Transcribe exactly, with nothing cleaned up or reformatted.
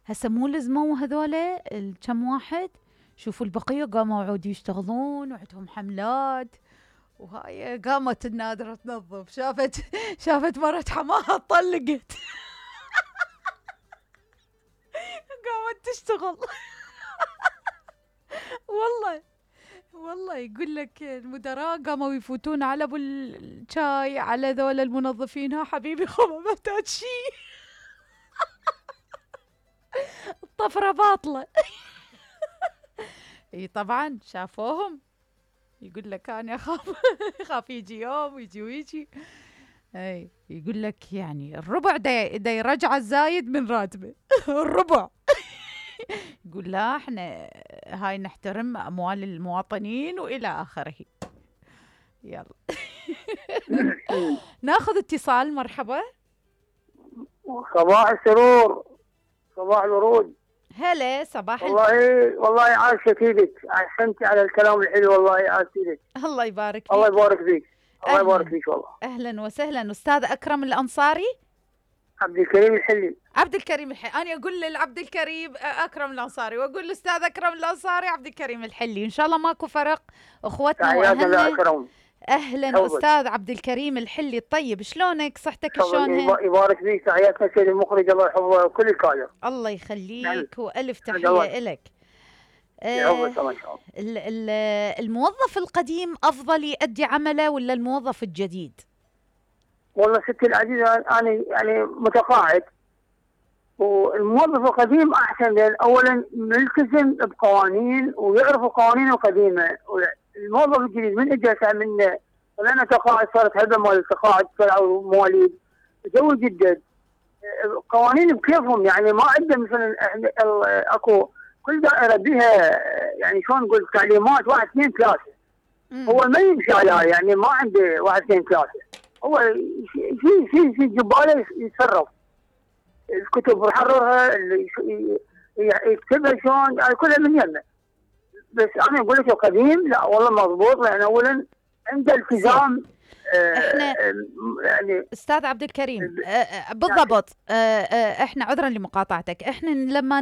هسه مو لزموا هذولا الكم واحد، شوفوا البقية قاموا عود يشتغلون وعندهم حملات، وهاي قامت النادرة تنظف، شافت شافت مرت حماها طلقت قامت تشتغل والله والله يقول لك المدراء قاموا يفوتون على ابو الشاي على ذول المنظفين، ها حبيبي خو ما محتاج شيء الطفرة باطلة اي طبعا شافوهم، يقول لك انا اخاف اخاف يجي يوم ويجي ويجي. اي يقول لك يعني الربع دا, دا يرجع الزايد من راتبه الربع يقول لا احنا هاي نحترم اموال المواطنين والى اخره. يلا ناخذ اتصال. مرحبا. صباح السرور، صباح الورود. هلا صباح والله ال... والله عاشت ايدك، احسنتي على الكلام الحلو، والله عاشت ايدك. الله يبارك فيك. الله يبارك فيك. الله يبارك فيك والله. اهلا وسهلا. استاذ اكرم الانصاري. عبد الكريم الحلي. عبد الكريم الحلي. انا اقول للعبد الكريم اكرم الانصاري، واقول للاستاذ اكرم الانصاري عبد الكريم الحلي، ان شاء الله ماكو فرق اخوتنا واهلنا. اكرم. اهلا حوضك. استاذ عبد الكريم الحلي، طيب شلونك؟ صحتك شلونها؟ يبارك فيك. تحياتنا سيد المخرج، الله يحفظه وكل الكادر. الله يخليك والف تحيه لك. آه الموظف القديم افضل يؤدي عمله ولا الموظف الجديد؟ والله ستي العزيزه انا يعني متقاعد، والموظف القديم احسن، لان اولا ملتزم بقوانين ويعرف القوانين القديمه. الموظف الجديد من اجى من لنا تقاعد، صارت هبه مال التقاعد، طلعوا مواليد جو جدد قوانين بكيفهم، يعني ما عنده مثلا اكو كل دائره بها يعني شلون نقول تعليمات واحد اثنين ثلاثه، هو ما يمشي عليها، يعني ما عنده واحد اثنين ثلاثه، هو في في في جباله يتصرف، الكتب يحررها يكتبها شلون، يعني كلها من يمه. بس انا اقول لك القديم لا والله مضبوط، لان اولا عنده التزام. احنا يعني استاذ عبد الكريم بالضبط، احنا عذرا لمقاطعتك، احنا لما